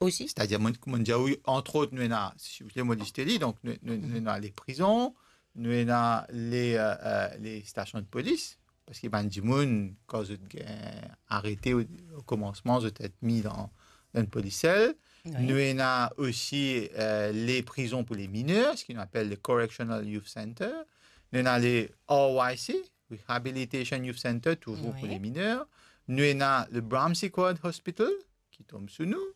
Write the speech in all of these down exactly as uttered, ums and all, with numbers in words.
osi? Setadir, mo, kouma mo dir, wi, antrot, nou ena, si ou vle, mo liste li, donk nou, nou, nou ena le prizon, nou ena le, euh, euh, le stasion de polis, parski bann dimoun, kan zot gagn arete o, o komansman, zot et mi dan, dan enn polis sel. Wi. Nou ena osi, euh, le prizon pou le miner, seki nou apel le Correctional Youth Center. Nou ena le R Y C, Rehabilitation Youth Center, touzour pou, wi, le miner. Nou ena le Brahmsey Quad Hospital, ki tom sou nou.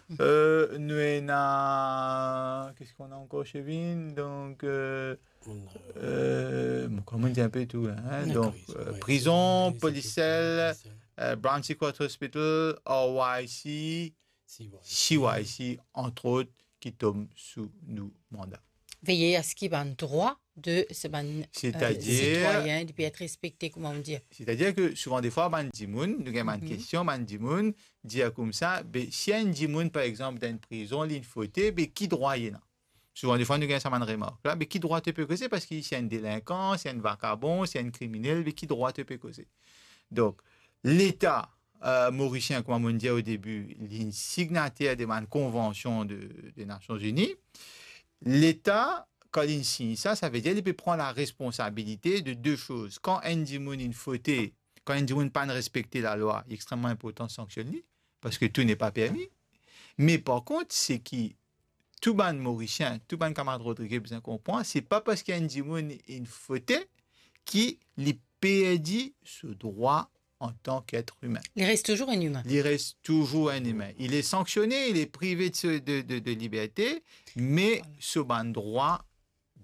Mhm. Euh, nou ena, qu'est-ce qu'on a encore, Chevin? Donc, euh, euh, bon, kouma nou dir, enpe tou la, hein? Dakor. Donc, euh, wi, prizon, wi, polis sel, euh, Brahmsey Quad Hospital, R Y C, C Y C, antrot, ki tom sou nou manda. Veye a seki bann drwa de se bann, euh, setadir, sitwayin, li pe et respekte, kouma nou dir. Setadir ke souvan defwa, bann dimoun, nou gagn bann, mhm, kestion, bann dimoun dir koumsa, be, si enn dimoun, par exanp, dan enn prizon, li inn fote, be, ki drwa li ena? Souvan defwa, nou gagn sa bann remark la, be, ki drwa to pe koze? Parski si enn delinkan, si enn vakabon, si enn kriminel, be, ki drwa to pe koze? Donk, Leta, euh, morisien, kouma mo dir o debi, li signataire de bann konvansion de, de Nasion Ini. Leta, kan li sign sa, sa ve dir li pe pran laresponsabilite de de soz. Kan enn dimoun inn fote, kan enn dimoun pa'nn respekte lalwa, li extrememan inportan sanksionn li, parski tout n'est pas permis. Me par kont, seki tou bann Morisien, tou bann kamarad Rodrigue bizin konpran, se pa parski enn dimoun inn fote ki li perdi so drwa antan ki et imin. Li res touzour enn imin. Li res touzour enn imin. Il est sanctionné, il est privé de, de, de, de liberté, me, voilà, so bann drwa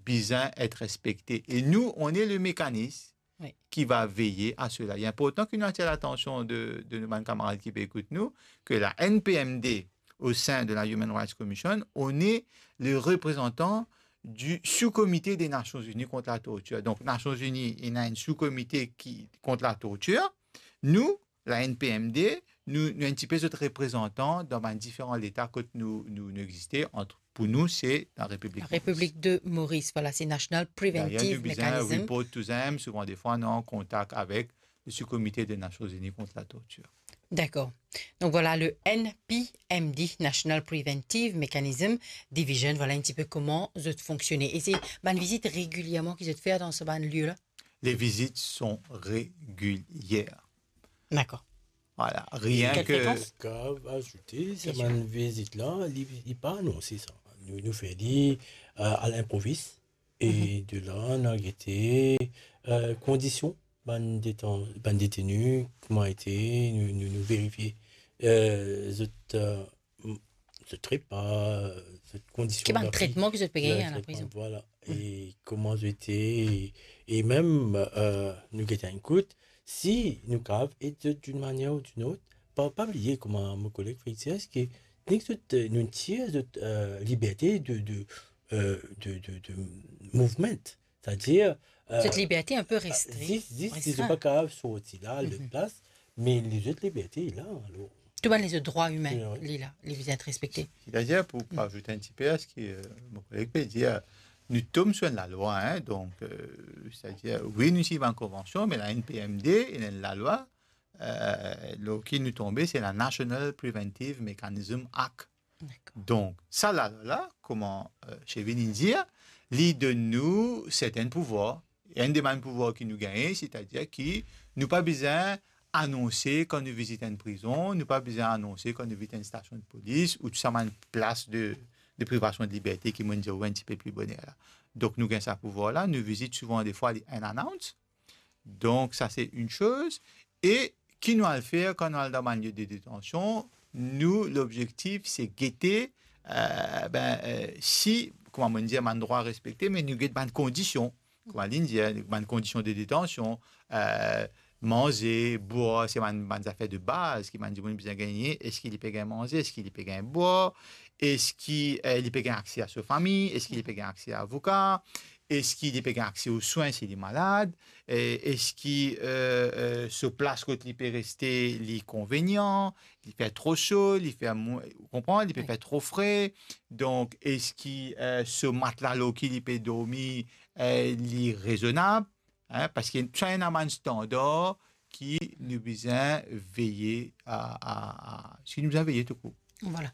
bizin et respekte. E nou, on est le mécanisme, wi, qui va veiller à cela. Il est important que nous attirions l'attention de, de nos bann kamarad ki pe ekout nou, ke la N P M D, au sein de la Human Rights Commission, on est le représentant du sous-comité des Nations Unies contre la torture. Donk, Nasion Ini, ena enn sou-komite ki, kont latortir. Nou, la N P M D, nou, nou enn tipe zot reprezantan dan bann diferan leta kot nou, nou, nou existe. Ant, pou nou, se la Repiblik Moris. La Repiblik de Moris, voilà, se National Preventive Mechanism. Dayer, nou bizin report to them, souvan defwa, nou an kontak avek le sous-comité des Nations Unies contre la torture. Dakor. Donk, voilà, le N P M D, National Preventive Mechanism Division, voilà enn tipe kouma zot fonksione. E se bann vizit regilierman ki zot fer dan sa bann lie la? Les visites sont régulières. Dakor. Voilà, rien que... Quelle fréquence? Kav azoute, sa bann vizit la, li, li pa anonse sa. Nou, nou fer li, euh, à l'improviste. E, mhm, de la, nou al gete, euh, kondision bann detan-, bann deteni, kouma ete, nou, nou, nou verifie, euh, zot, euh, m-, zot repa, zot kondision... Ki bann tretman ki zot pe gagn dan laprizon. Voilà. Mm. E kouma zot ete, e, e mem, euh, nou gete enn kout, si nou kav ed zot d'une manière ou d'une autre, pa, pa bliye, kouma mo koleg Fritz dir, ke nek zot, euh, nou tir zot, euh, liberte de, de, euh, de, de, de mouvement. Setadir, euh, zot liberte enn pe restri-, zis, zis si zot pa kav sorti la, lot plas, me lezot liberte la, alor. Tou bann lezot drwa imin, wi, li la, li bizin et respekte. Setadir, pou, pou azout enn tipe a seki, euh, mo koleg pe dir, nou tom sou enn lalwa, hein, donk, euh, setadir, wi, nou sign bann konvansion, me la N P M D, ena enn lalwa, euh, lor ki nou tonbe, se la National Preventive Mechanism Act. Dakor. Donk, sa lalwa la, kouma, euh, Chevin inn dir, li donn nou sertenn pouvwar. Enn de bann pouvwar ki nou gagne, setadir ki nou pa bizin anonse kan nou vizit enn prizon, nou pa bizin anonse kan nou vizit enn stasion de polis ou tou sa bann plas de, de privasion de liberte ki mo dir ou enn tipe pli boner la. Donk, nou gagn sa pouvwar la, nou vizit souvan defwa li unannounced. Donk, sa se enn soz. E ki nou al fer kan nou al dan bann lie de detansion? Nou, lobzektif, se gete, euh, ben, euh, si, kouma mo dir, bann drwa respekte, me nou get bann kondision. Kouma li dir, bann kondision de detansion, euh, manze, bwar, se bann, bann zafer de baz ki bann dimoun bizin gagne. Eski li pe gagn manze? Eski li pe gagn bwar? Eski, euh, li pe gagn akse a so fami? Eski li pe gagn akse a avoka? Eski li pe gagn akse o swin si li malad? E eski, euh, euh, so plas kot li pe reste, li konvenian? Li fer tro so, li fer mo-, ou konpran? Li pe fer tro fre. Donk, eski, euh, so matla lor ki li pe dormi, euh, li rezonab? Hein, parski sa ena bann standar ki nou bizin veye a, a, a, si nou bizin veye toukour. Voilà.